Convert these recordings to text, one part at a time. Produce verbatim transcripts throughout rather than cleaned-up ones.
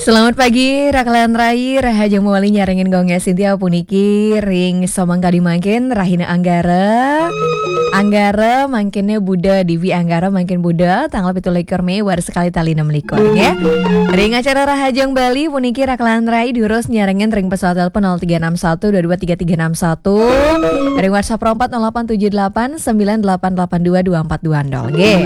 Selamat pagi, Raka lan Rai, rahajeng mawali nyarengin Gung Sintia puniki ring samangkadi mangkin, rahina Anggara. Anggara mangkinnya Buda, Diwi Anggara mangkin Buda, tanggal pitu likur Mei, warsa kalih tali enam likur, ya. Ring acara Rahajeng Bali puniki Raka lan Rai durus nyarengin ring pesawat telepon nol tiga enam satu dua dua tiga tiga enam satu, ring WhatsApp empat nol delapan tujuh delapan sembilan delapan delapan dua dua empat dua nol, nggih.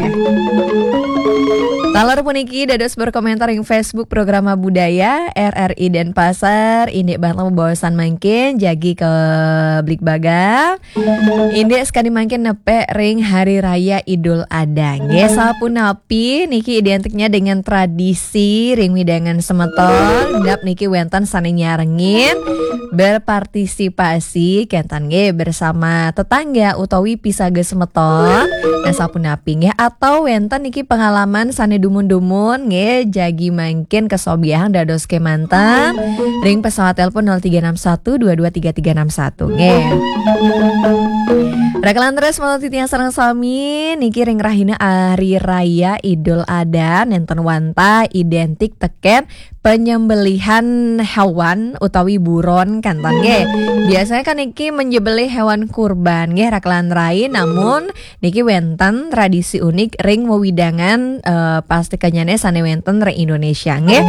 Taler puniki dados berkomentar ring Facebook Programa Budaya R R I Denpasar, indik banget mabaosan mangkin, jagi ke bligbaga. Indik sakadi mangkin nepek ring Hari Raya Idul Adha. Nggih, sapunapi niki identiknya dengan tradisi ring wewidangan semeton, minab niki wenten sane nyarengin, berpartisipasi, kenten nggih, bersama tetangga utawi pisaga semeton. Nah, sapunapi nggih, atau wenten niki pengalaman sane dumun-dumun nggih, jagi mangkin kasobiahang dados kemanten ring pesawat telepon nol tiga enam satu dua dua tiga tiga enam satu nggih. Raka lan Rai, malih titiang sareng sami niki ring rahina Hari Raya Idul Adha nenten wantah identik teken penyembelihan hewan utawi buron, kenten nggih. Biasanya kan niki menyembelih hewan kurban nggih, Raka lan Rai, namun niki wenten tradisi unik ring wewidangan, eh, pastikannyane sane wenten ring Indonesia nggih.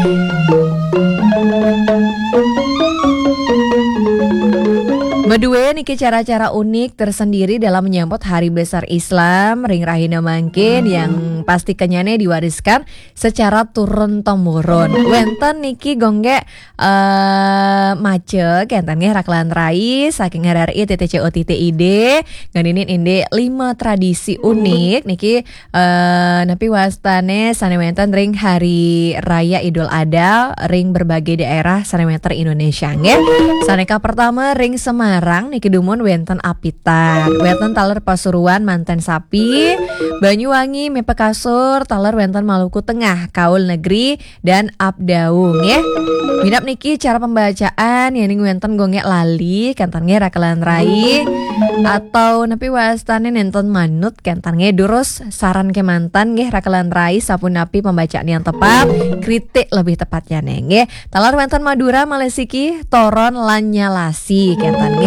Madue niki cara-cara unik tersendiri dalam menyambut hari besar Islam ring rahina mangkin yang pastikannyane diwariskan secara turun temurun. Wenten niki Gung, eh, maca kenten nggih, Raka lan Rai, saking R R I titik C O titik I D, ngeninin indik lima tradisi unik niki, eh, napi wastane sane wenten ring Hari Raya Idul Adha ring berbagai daerah sane wenten Indonesia nggih. Sane kapertama ring Semarang niki dumun wenten apitan, wenten taler Pasuruan manten sapi, Banyuwangi mepekasur, taler wenten Maluku Tengah, Kaul Negeri, dan Abdau nggih. Minab niki cara pembacaan yening wenten Gung lali, kenten nggih, Raka lan Rai, atau napi wastane nenten manut, kenten nggih, durus saran kemanten nggih, Raka lan Rai, sapunapi pembacaan yang tepat, kritik lebih tepatnya nggih. Taler wenten Madura, malih siki, Toron lan Nyalasi, kenten nggih.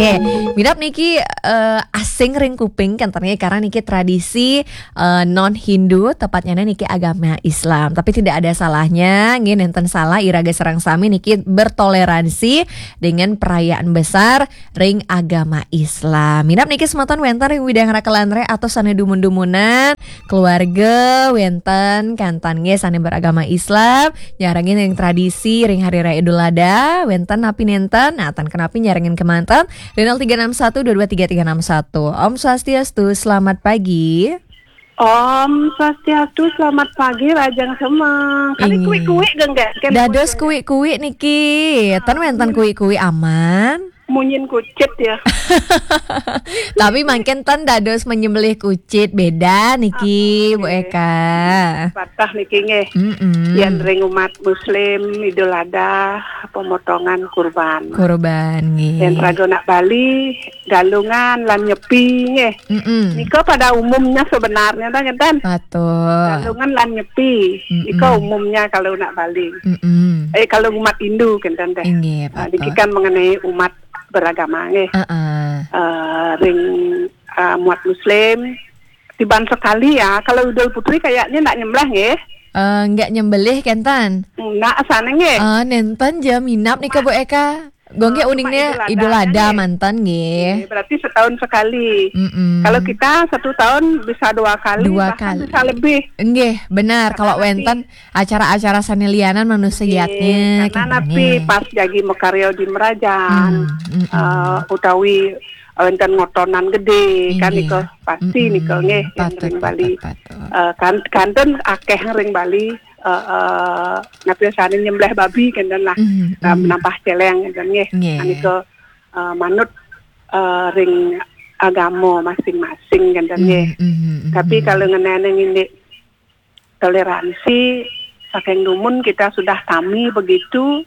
Minab niki, eh, asing ring kuping, kenten nggih, karena niki tradisi, eh, non Hindu, tepatnya niki agama Islam. Tapi tidak ada salahnya nggih, nenten salah iraga sareng sami niki bertoleransi dengan perayaan besar ring agama Islam. Minab niki semeton wenten ring wewidangan Raka lan Rai atau sane dumun-dumunan, keluarga wenten, kenten nggih, sane beragama Islam, nyarengin ring tradisi ring Hari Raya Idul Adha, wenten napi nenten, nah, tan kenapi nyarengin kemanten ring nol tiga enam satu dua dua tiga tiga enam satu. Om Swastiastu, selamat pagi. Om Swastiastu, selamat pagi, rahajeng semeng. Kadi Inggih. Kuik-kuik, Gung, nggih? Kan dados kuik-kuik. Kuik-kuik niki. Ten wenten kuik-kuik aman. Munyin kucit, ya. Tapi mangkin ten dados menyembelih kucit, beda niki, ah, Bu, oke. Eka. Patah niki nggih. Mm-mm. Yen ring umat Muslim, Idul Adha, pemotongan kurban. Kurban, nggih. Yen raga anak Bali, galungan lan nyepi nggih. Mm-mm. Nika pada umumnya sebenarnya, ta, ngeten? Patut. Galungan lan nyepi. Mm-mm. Nika umumnya kalau anak Bali. Mm-mm. Eh, kalau umat Hindu, ngeten deh. Inggih, nah, patut. Niki kan mengenai umat beragama nggih. Heeh. Eh, ring, eh, umat Muslim. Tiban sekali ya, kalau Idul Fitri kayaknya ndak nyembelih nggih. Eh, nggak nyembelih kenten? Ndak sane nggih. Eh, nenten ja minab nika, Bu Eka. Gung nggih, eh, cuma uningne Idul Adha, Idul Adha nggih. Manten nggih. Nggih, berarti setahun sekali. Mm-mm. Kalau kita satu tahun bisa dua kali, dua bahkan kali. Bisa lebih. Nggih, benar. Karena kalau nanti wenten acara-acara sane lianan manut segiatnya, nggih, karena kenten napi nggih. Pas jagi makarya di Merajan, hmm, mm-mm. Eh, utawi wenten ngotonan gede, kan, inggih. Nika pasti, mm-mm. Nika nggih, yang patut, ring Bali. Patut, patut. Eh, kan, kantun akeh ring Bali, eh, eh, napi sane nyembelih babi, kenten lah. Mm, eh, mm. Nambah celeng, kenten nggih. Nggih. Nika, eh, manut, eh, ring agama masing-masing, kenten nggih. Mm, mm, mm, tapi mm. Kalau ngenene indik toleransi, saking dumun kita sudah tami begitu,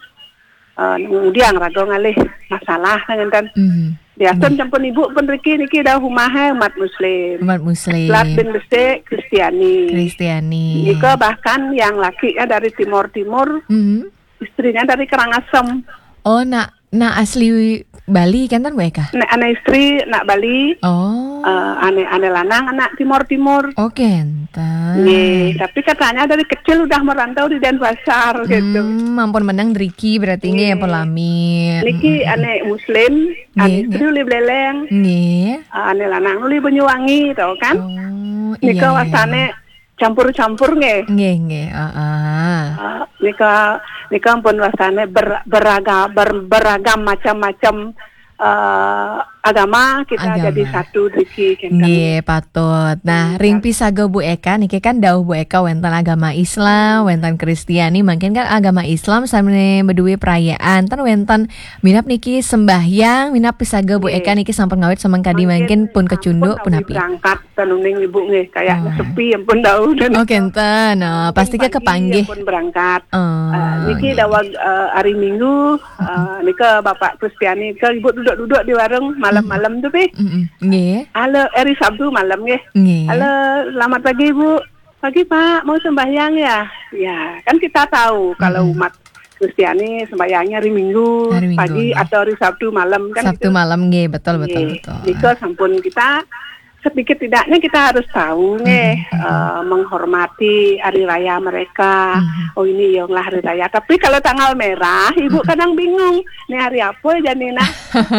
eh, ngudiang raga ngalih masalah, ngenten. Mhm. Biasa, mhm, sampun ibu pun riki niki dah umahe umat Muslim. Umat Muslim. Lat bin besik Kristiani. Kristiani. Nika bahkan yang laki ya dari Timur-Timur. Mhm. Istrinya dari Karangasem. Oh, nak, nak asli Bali kenten, Bu Eka? Nek anak istri nak Bali. Oh. Eh, ane, ane lanang anak Timur-Timur. Oh, kenten. Nggih, tapi katanya dari kecil udah merantau di Denpasar gitu. Hmm, ampun menang driki berarti nggih, nggih, ampun lami. Niki, mm-mm, ane Muslim, ane, nggih, istri nggih, uli Beleng. Nggih. Eh, ane lanang uli Banyuwangi, tau kan? Oh, nika iya, iya, wasane iya, campur-campur nggih. Nggih, nggih, heeh. Eh, nika, nika ampun wasane ber-, beraga-, ber-, beragam macam-macam, eh, agama kita, agama, jadi satu driki kenten. Nggih, patut. Nah, hmm, ring pisaga Bu Eka niki kan dawuh Bu Eka wenten agama Islam, hmm, wenten Kristiani, mungkin kan agama Islam sami beduwe perayaan, ten wenten minab niki sembahyang, minab pisaga Bu Eka, nggih, niki sampun ngawit semeng kadi mangkin, mangkin pun kecunduk, sampun punapi? Berangkat sanuning Ibu nggih, kayaknya, oh, sepi ampun dawuh dan, oh, kenten. Nah, mungkin pasti ke pagi kepanggih ampun berangkat. Oh, eh, niki, nggih, dawag, eh, hari Minggu, eh, nika Bapak Kristiani ke Ibu duduk-duduk di warung malam-malam tuh, Pi. Mm-mm. Nggih. Halo, hari Sabtu malam nggih. Nggih. Halo, selamat pagi, Bu. Pagi, Pak, mau sembahyang ya? Ya, kan kita tahu kalau, mm-mm, umat Kristiani sembahyangnya hari Minggu, hari Minggu, pagi, nggih, atau hari Sabtu malam kan Sabtu gitu. Malam nggih, betul, betul, nggih, betul. Nika sampun kita sedikit tidaknya kita harus tahu nggih, mm-mm, mm-mm, eh, menghormati hari raya mereka. Mm-mm. Oh, ini ya lah hari raya. Tapi kalau tanggal merah, Ibu, mm-mm, kadang bingung. Ini hari apa ya, Nina?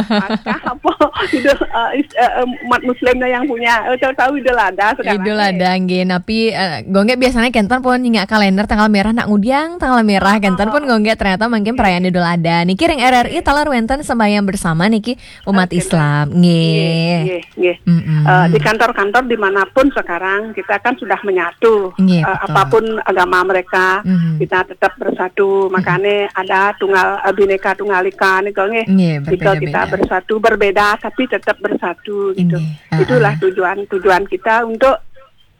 Paskah apa? Idul, eh, is-, eh, eh, umat Muslimnya yang punya. Eh, tahu-tahu Idul Adha sekarang. Idul Adha nggih. Napi, eh, Gonggek biasanya kenten pun nyingak kalender tanggal merah nak ngudiang tanggal merah kenten pun, oh, Gonggek ternyata mungkin perayaan Idul Adha. Niki ring R R I taler wenten sembahyang bersama niki umat, oke, Islam. Nggih. Nggih, nggih, nggih. Mm-mm. Eh, di kantor-kantor dimanapun sekarang kita kan sudah menyatu. Nggih, eh, betul. Apapun agama mereka, mm-hmm, kita tetap bersatu. Mm-mm. Makanya ada tunggal, eh, Bhinneka Tunggal Ika nih, nggih. Nggih, nika kita berbeda-beda. Bersatu, berbeda tapi tetap bersatu gitu. Nggih. Itulah, ah, ah, tujuan, tujuan kita untuk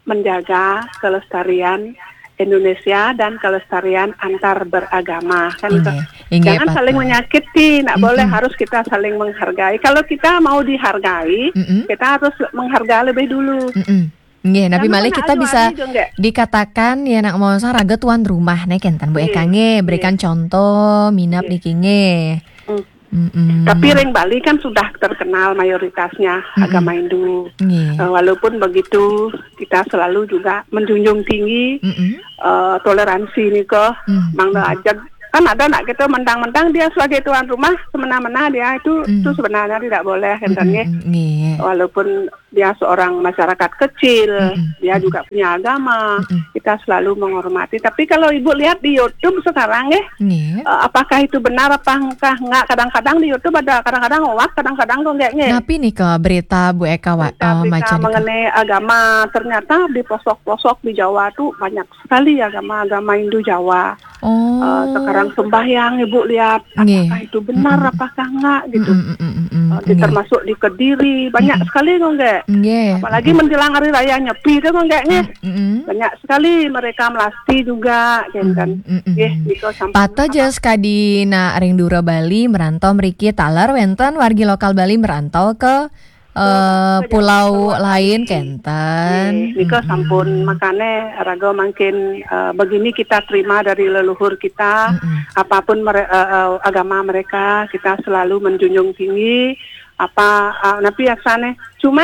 menjaga kelestarian Indonesia dan kelestarian antar beragama kan gitu. Nggih. Nggih, jangan saling patut menyakiti, nggak boleh, mm-mm, harus kita saling menghargai. Kalau kita mau dihargai, mm-mm, kita harus menghargai lebih dulu. Mm-mm. Nggih, napi malih kita bisa dikatakan ya nak mau raga tuan rumah nih kenten Bu Eka nggih, berikan contoh minab niki nggih. Mm. Mm-mm. Tapi ring Bali kan sudah terkenal mayoritasnya agama Hindu. Nggih. Eh, walaupun begitu kita selalu juga menjunjung tinggi, mm-mm, eh, toleransi nika, mm-mm, mangda aja kan ada nak kita mentang-mentang dia sebagai tuan rumah semena-mena dia itu, mm, itu sebenarnya tidak boleh kenten nggih. Mm-mm, nggih. Walaupun dia seorang masyarakat kecil, mm-mm, dia, mm-mm, juga punya agama, mm-mm, kita selalu menghormati. Tapi kalau Ibu lihat di YouTube sekarang, eh, nggih, eh, apakah itu benar apa enggak? Enggak, kadang-kadang di YouTube ada, kadang-kadang hoax, kadang-kadang kok enggak, nggih. Napi nika berita Bu Eka wa-, berita, eh, berita maca nika mengenai agama, ternyata di pelosok-pelosok di Jawa tuh banyak sekali agama-agama Hindu Jawa. Oh. Eh, sekarang sembahyang, Ibu lihat, nggih, apakah itu benar, mm-mm, apakah enggak gitu. Mm-mm, mm-mm, mm-mm, eh, di, nggih, termasuk di Kediri, banyak, mm-mm, sekali kok enggak. Nggih. Apalagi, mm-mm, menjelang hari raya Nyepi itu kok enggak nggih. Mm-mm. Banyak sekali mereka melasti juga, kan. Mm-mm, mm-mm. Nggih, nika sampun. Pata jas kadina ring dura Bali merantau mriki taler wenten wargi lokal Bali merantau ke eh, ke pulau Jawa, ke luar lain negeri. Kenten. Nggih, nika sampun, mm-mm, makane raga mangkin, eh, begini kita terima dari leluhur kita, mm-mm, apapun mere-, eh, eh, agama mereka, kita selalu menjunjung tinggi apa, eh, napi asane. Cuma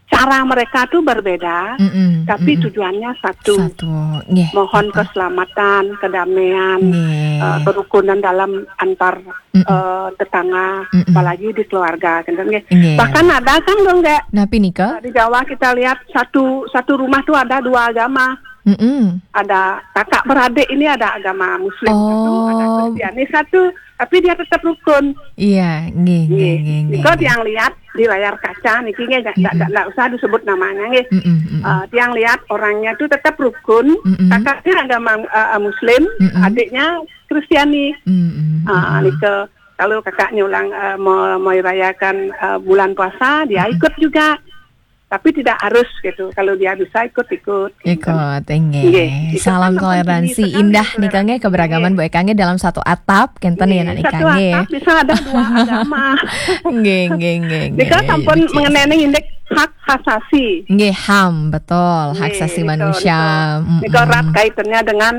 cara mereka tuh berbeda, mm-mm, tapi, mm-mm, tujuannya satu. Satu, nggih, mohon betul. Keselamatan, kedamaian, nggih, eh, kerukunan dalam antar, mm-mm, eh, tetangga, mm-mm, apalagi di keluarga, kan, nggih. Nggih. Bahkan ada kan, nggih, napi nika? Di Jawa kita lihat satu, satu rumah tuh ada dua agama. Mm-mm. Ada kakak beradik ini ada agama Muslim satu, ada, oh, Kristiani satu, tapi dia tetap rukun. Iya, nggih, nggih, nggih, nggih, nggih. Nika tiang lihat di layar kaca niki nggih, nggak, nggak, mm-mm, nggak, nggak usah disebut namanya nggih. Mm-mm, mm-mm. Eh, tiang lihat orangnya tuh tetap rukun, mm-mm, kakaknya agama, eh, Muslim, mm-mm, adiknya Kristiani. Mm-mm, ah, mm-mm. Nika kalau kakaknya ulang, eh, mau, mau rayakan, eh, bulan puasa, dia, mm-mm, ikut juga. Tapi tidak harus gitu. Kalau dia bisa ikut-ikut, gitu. Ikut, nggih. Nggih, itu kan salam toleransi. Indah nika nggih, keberagaman Bu Eka nggih dalam satu atap, kenten ya, nggih, nak nika nggih. Satu atap bisa ada dua agama. Nggih, nggih, nggih, nggih. Nika sampun mengenai indik hak asasi. Nggih, HAM, betul. Hak asasi manusia. Nggih, betul, betul. Mm-mm. Nika erat kaitannya dengan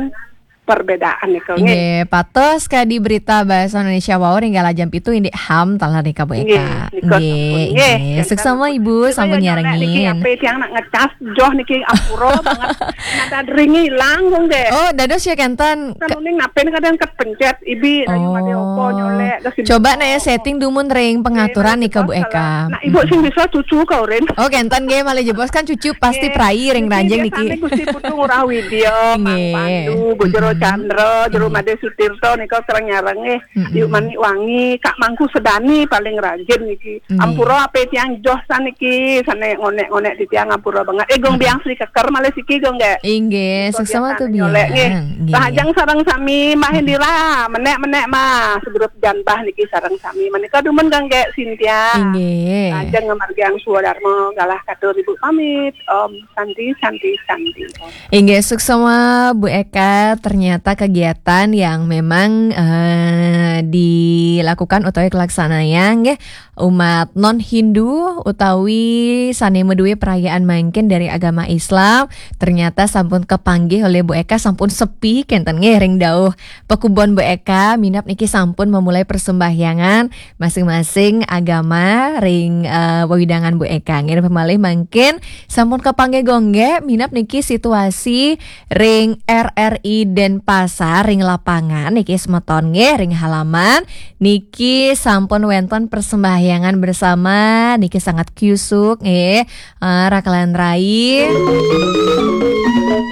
perbedaan nika nggih. Nggih, patos kadi berita bahasa Indonesia wau ring galah jam pitu indik ham taler nika Bu Eka. Nggih, nika sampun. Nggih, nggih. Suksma Ibu, sampun nyarengin. Niki ape tiang nak ngecas joh niki ampura banget. Nada deringi hilang nggih. Oh, dados ya kenten. Kan uning napen kadang kepencet ibi rayu made opo nyolek. Coba naya setting dumun ring pengaturan nika Bu Eka. Nah, Ibu sing bisa cucu ka urin. Oh, kenten nggih, malih jebos kan cucu pasti prai ring ranjing niki. Nggih, Gusti Putu Ngurah Widya, Pak Pandu, Bu Jero Chandra, Jero Made Sutirta nika kereng nyareng nggih. Yuk Manik Wangi, Kak Mangku Sedani paling rajin niki. Nggih. Ampura ape tiang joh saniki, sane ngonek-ngonek di tiang ampura banget. Eh, Gung Biang Sri Keker malih siki Gung nggih. Inggih, suksma tu Biang. Nggih. Rahajeng sareng sami, Mah Indira, menek-menek Mah, segrup janbah niki sareng sami. Menika dumun Gung nggih Sintia. Inggih. Rahajeng ngamargiang swadarma galah katur Ibu pamit. Om Santi, Santi, Santi. Inggih, suksma Bu Eka, ternyata kegiatan yang memang eh, dilakukan utawi kelaksanayang nggih umat non Hindu utawi sane madue perayaan mangkin dari agama Islam ternyata sampun kepanggih oleh Bu Eka, sampun sepi kenten nggih ring dauh pakubon Bu Eka, minab niki sampun memulai persembahyangan masing-masing agama ring eh, wewidangan Bu Eka. Nggih, malih mangkin sampun kepanggih Gung nggih, minab niki situasi ring R R I Denpasar ring lapangan niki semeton nggih, ring halaman niki sampun wenten persembahyangan bersama niki sangat kyusuk nggih. Eh, rakelan rai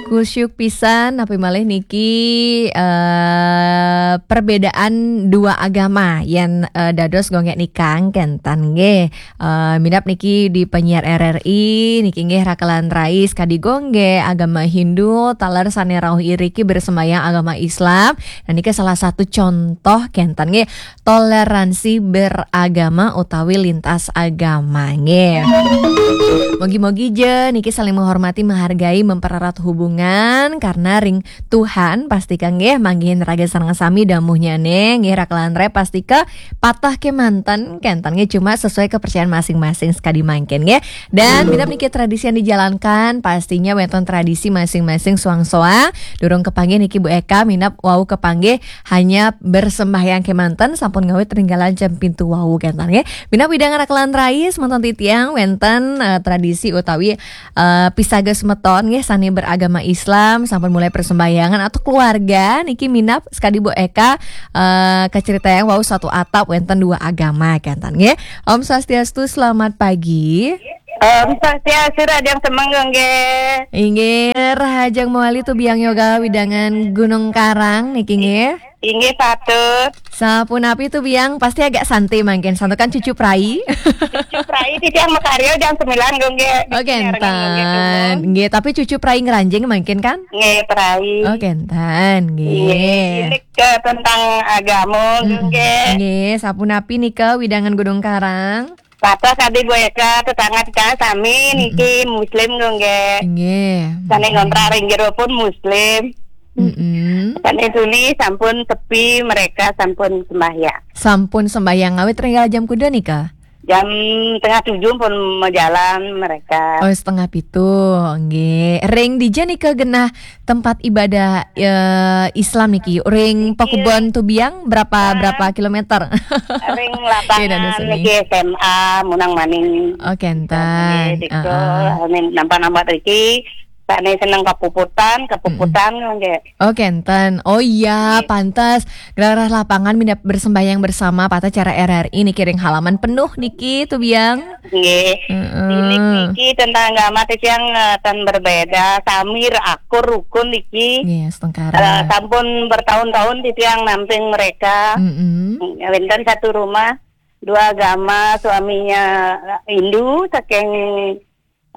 kusyuk pisan, napi malih niki eh, perbedaan dua agama yen eh, dados Gung nggih nikang kenten nggih. Eh, minab niki di penyiar R R I niki nggih rakelan rai kadi Gung nggih agama Hindu taler sane rauh iriki bersembahyang agama Islam. Nah, niki salah satu contoh kenten nggih toleransi beragama utawi lintas agama nggih. Mogi-mogi je niki saling menghormati, menghargai, mempererat hubungan karena ring Tuhan pastika nggih manggihin raga sareng sami damuhnyane nggih rakelan rai pastika patah kemanten kenten nggih cuma sesuai kepercayaan masing-masing sekadi mangkin nggih. Dan minab niki tradisi yang dijalankan pastinya wenten tradisi masing-masing suang-suang. Durung kepanggih niki Bu Eka minab wau kepanggih hanya bersembahyang kemanten sampun ngawit ring galah jam pitu wau kenten nggih. Minab wewidangan rakelan rai semeton titiang wenten eh, tradisi utawi eh, pisaga semeton nggih sane beragama Islam sampun mulai persembahyangan atau keluarga niki minab sekadi Bu Eka eh, kacaritayang wau satu atap wenten dua agama kenten nggih. Om Swastiastu, selamat pagi. Om Swastiastu, Raden Semenggung nggih. Inggih, Rahajeng Mawali Tubiang Yoga wewidangan Gunung Karang niki nggih. Inggih patut. Sapunapi Tubiang, pasti agak santai mangkin. Santukan cucu prai. Cucu prai titiang makarya jam sembilan Gung nggih. Oh, kenten. Nggih, tapi cucu prai ngranjing mangkin kan? Nggih, prai. Oh, kenten, nggih. Nggih, ini ke tentang agama Gung nggih. Nggih, sapunapi nika wewidangan Gunung Karang? Patah kadi Bu Eka, tetangga kita sami niki muslim Gung nggih. Nggih. Sane ngontrak ring jero pun muslim. Mm-mm. Sane tuni sampun sepi, mereka sampun sembahyang. Sampun sembahyang ngawit ring galah jam kuda nika? Jam tengah tujuh pun majalan mereka. Oh, setengah pitu, nggih. Ring dija nika genah tempat ibadah eh, Islam niki? Ring Pakubon Tubiang berapa berapa kilometer? Ring lapangan niki S M A Munang Maning. Oh, kenten. Nggih, diko. Heeh. Amin, nampak-nampak riki. Sane seneng kepuputan, kepuputan nggih. Oh, kenten. Oh iya, pantes. Galah lapangan minab bersembahyang bersama patah cara R R I niki ring halaman penuh niki Tubiang. Nggih. Heeh. Ini niki tentang agama titiang eh, tan berbeda. Sami akur rukun niki. Nggih, setengkara. Eh, sampun bertahun-tahun titiang namping mereka. Mm-mm. Wenten satu rumah, dua agama, suaminya Hindu saking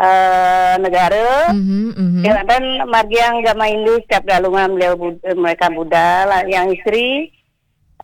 eh, negara. Mhm, mhm. Ya, dan margiang agama Hindu setiap galungan beliau Bud- eh, mereka Buddha lah, yang istri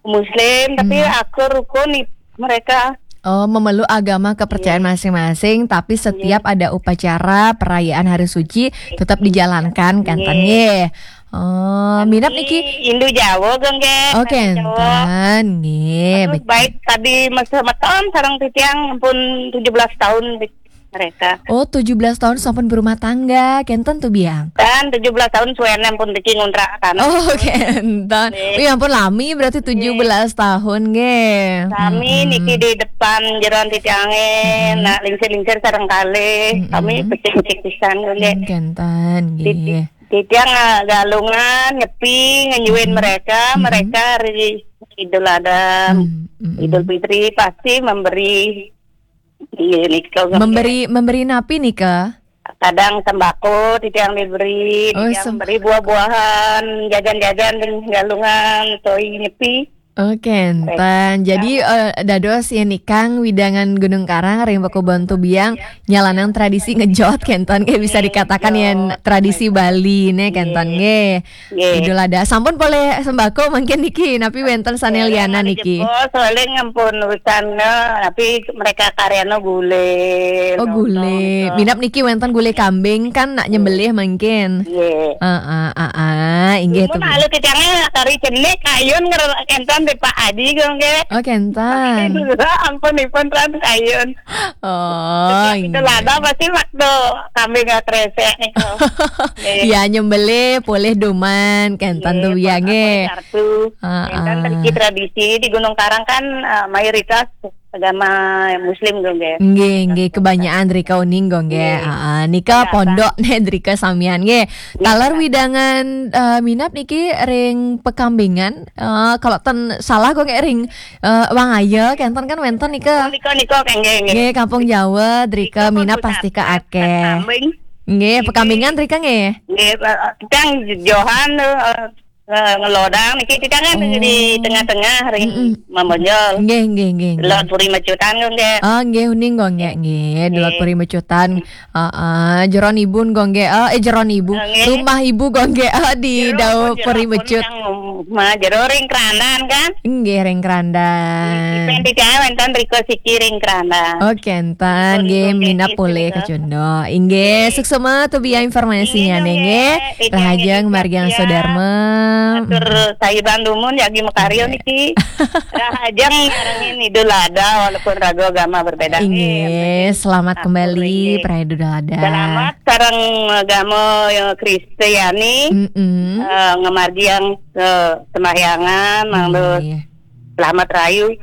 Muslim, tapi akur rukun i- mereka. Oh, memeluk agama kepercayaan masing-masing, tapi setiap ada upacara perayaan hari suci tetap dijalankan kan, Tan? Nggih. Nggih. Oh, minab niki Hindu Jawa, Gung nggih. Oh, kenten, nggih. Aduh, baik tadi masa meton sareng titiang pun tujuh belas tahun di- mereka. Oh, tujuh belas tahun sampun berumah tangga, kenten tuh biang. Dan tujuh belas tahun suwené pun niki ngontrak kan. Oh, kenten. Nggih. Wih, ampun lami berarti tujuh belas tahun nggih. Kami Mm-mm. niki di depan jeroan titiangé, Mm-mm. nak lingsir-lingsir sareng kalih. Mm-mm. Kami becik-becik pisan nggih. Mm, kenten Titi-, nggih. Titiang, eh, Galungan nyepi ngenyuin Mm-mm. mereka, Mm-mm. mereka hari Idul Adha, Mm-mm. Idul Fitri pasti memberi. Iya, nika. Memberi, memberi napi nika? Kadang sembako titiang diberi, Oh, titiang sem- beri buah-buahan, jajan-jajan, Galungan, toi nyepi. Oh, kenten. Jadi, eh, dados yén ikang widangan Gunung Karang ring Pakubon Tubiang nyalanang tradisi ngejot kenten nggih, bisa dikatakan yén tradisi Bali né kenten nggih. Nggih. Idul Adha. Sampun polih sembako mangkin niki, napi wénten sané lianan niki? Jebos, soalnya ngampun urusan, eh, tapi mereka karyana gulé. Oh, gulé. Minab niki wénten gulé kambing kan nak nyembelih mangkin. Nggih. Heeh, heeh. Inggih tuh. Mun alu kecangnya kari cenik, kayun nger-, kenten di Pak Adi kok nggih. Oh, kenten. Ampun ipun ran kayun. Oh, Idul Adha pasti waktu kambing nggak kresek nih kok. Nggih. Ya, nyembelih polih duman kenten tuh biang nggih. Kartu. Heeh. Kenten mriki tradisi di Gunung Karang kan, eh, mayoritas agama Muslim kok nggih. Nggih, nggih, kebanyakan drika uning kok nggih. Nggih. Heeh, nika pondok né drika samian nggih. Taler widangan, eh, minab niki ring Pekambingan, eh, kalau ten salah kok nggih ring, eh, Wangaya kenten kan wénten nika. Oh, nika, nika, nggih, nggih. Nggih, Kampung Jawa drika minab pasti ka akéh. Kambing. Nggih, Pekambingan drika nggih. Nggih, eh, titiang johan, eh, eh, ngelodang niki titiang kan di tengah-tengah ring Mamonjol. Nggih, nggih, nggih, nggih. Lor Puri Mecutan kok nggih. Oh, nggih, uning kok nggih, nggih. Di Lor Puri Mecutan. Heeh, jeroan ibu kok nggih. Eh, eh, jeroan ibu. Nggih. Rumah ibu kok nggih. Eh, di Dau Puri Mecut. Mah jero ring Kerandan kan? Nggih, ring Kerandan. Nggih, wénten riko siki ring Kerandan. Oh, kenten nggih, minab polih kacunduk. Inggih, suksema tuh biang informasinya nggih. Rahajeng margiang sodarma. Atur sahiban dumun jagi makarya niki. Rahajeng nyarengin Idul Adha walaupun raga agama berbeda nggih. Inggih, selamat kembali, Prai Idul Adha. Selamat sareng agama, ya, Kristiani. Mm-mm. Eh, ngamargiang, eh, sembahyangan, mangda selamat rahayu,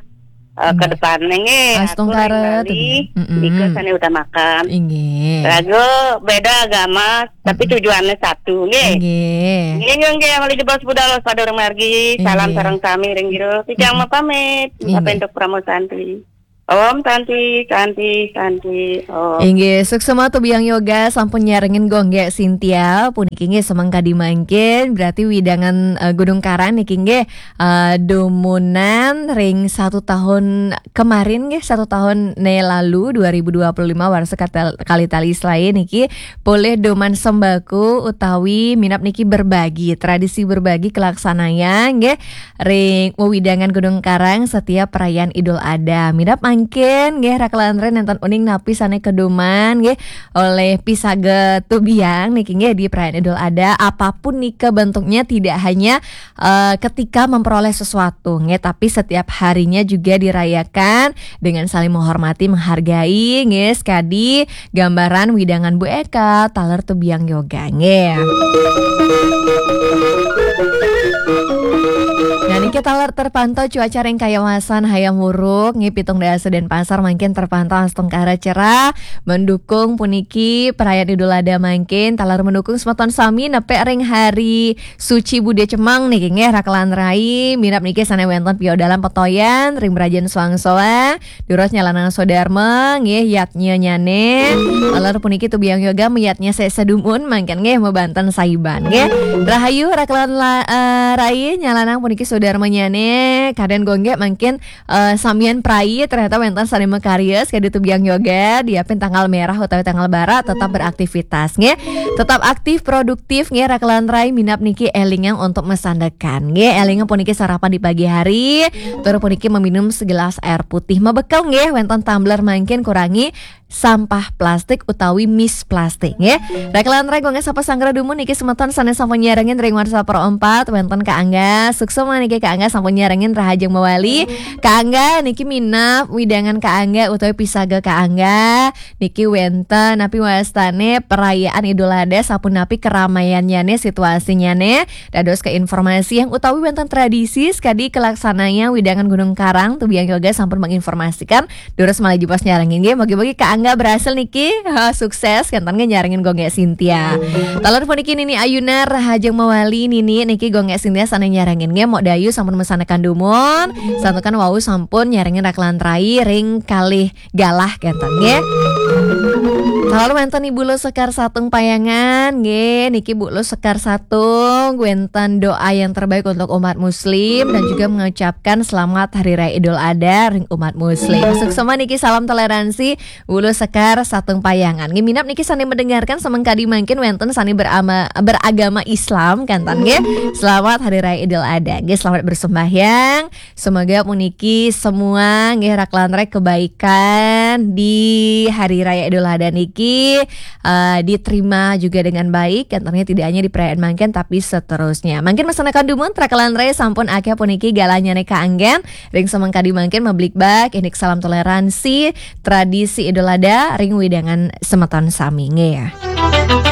eh, ke depan nggih. Astungkara tuh. Nika sané utamakan. Inggih. Raga beda agama, tapi tujuannya satu nggih. Inggih. Nggih, nggih, nggih, mali jebos budal pada margi. Salam sareng sami ring jero. Titiang mapamit. Inggih. Mapentuk Pramosanti. Om Santi, Santi, Santi, Om. Inggih, suksema tuh biang yoga sampun nyarengin kok nggih Cynthia, puniki nggih semeng kadi mangkin, berarti widangan, eh, Gunung Karang niki nggih, eh, dumunan ring satu tahun kemarin nggih, satu tahun né lalu dua ribu dua puluh lima warsa katel-, kali tali selain niki polih duman sembako utawi minab niki berbagi, tradisi berbagi kelaksanaya nggih. Ring wewidangan Gunung Karang setiap perayaan Idul Adha. Minab mangkin nggih rakelan rai nénten uning napi sané kaduman nggih olih pisaget tubiang niki nggih di perayaan Idul Adha. Apapun nika bentuknya tidak hanya, eh, ketika memperoleh sesuatu nggih, tapi setiap harinya juga dirayakan dengan saling menghormati, menghargai nggih. Sekadi gambaran widangan Bu Eka, taler tubiang yoga nggih. Nah, niki taler terpantau cuaca ring kawasan Hayam Wuruk nggih, pitung dasa Denpasar mangkin terpantau astungkara cerah, mendukung puniki perayaan Idul Adha mangkin, taler mendukung semeton sami nepek ring hari suci Budé Cemeng niki nggih, rakelan rai, minab niki sané wénten piodalan petoyan ring Brajan Suangsoa, Duros nyalanang sodarma nggih, yadnyanyané. Taler puniki tubiang yoga mayadnya sé sedumun mangkin nggih, mabanten sahiban nggih. Rahayu rakelan la-, eh, rai nyalanang puniki sodarmanyané. Kadén kok nggih mangkin, eh, samian prai ternyata wénten sané makarya sekadi tubiang yoga, diapin tanggal merah utawi tanggal barak tetap beraktivitas nggih. Tetap aktif, produktif nggih, rakelan rai, minab niki élingang untuk masandekan nggih. Élingang puniki sarapan di pagi hari, tur puniki meminum segelas air putih. Mabekel nggih, wénten tumbler mangkin kurangi sampah plastik utawi mis plastik, nggih. Raka lan rai, Gung Ges sapa sanggra dumun niki semeton sané sampun nyarengin ring WhatsApp Pro empat, wénten Kak Angga. Suksma niki Kak Angga sampun nyarengin rahajeng mawali. Kak Angga niki minab wewidangan Kak Angga utawi pisaga Kak Angga niki wénten napi wastané perayaan Idul Adha, sapunapi keramaiannyané, situasinnyané. Dados ke informasi yang utawi wénten tradisi sekadi kalaksanayang wewidangan Gunung Karang, Tubiang Yoga sampun menginformasikan. Durus malih jebos nyarengin nggih, mugi-mugi Kak Angga berhasil niki. Ha, sukses kénten nggih nyarengin Gung Ges Sintia. Taler puniki Nini Ayunar, rahajeng mawali Nini niki Gung Ges Sintia sané nyarengin nggih, Mok Dayu sampun mesanekan dumun, santukan wau sampun nyarengin raka lan rai ring kalih galah kénten nggih. Taler wénten Ibu Lus Sekar Satung Payangan nggih, niki Bu Lus Sekar Satung wénten doa yang terbaik untuk umat muslim dan juga mengucapkan selamat Hari Raya Idul Adha ring umat muslim. Suksma niki salam toleransi Ulu Sekar Satung Payangan. Nggih, minab niki sané mendengarkan semengkadi mangkin wénten sané berama, beragama Islam kénten nggih. Selamat Hari Raya Idul Adha. Nggih, selamat bersembahyang. Semoga puniki semua nggih raka lan rai kebaikan di Hari Raya Idul Adha niki eh, diterima juga dengan baik, kénten nggih, tidak hanya di perayaan mangkin tapi seterusnya. Mangkin mesanekan dumun, raka lan rai, sampun akéh puniki galahnyané kaanggén. Ring semengkadi mangkin mablikbak indik salam toleransi tradisi Idul Adha ring wewidangan semeton sami nggih.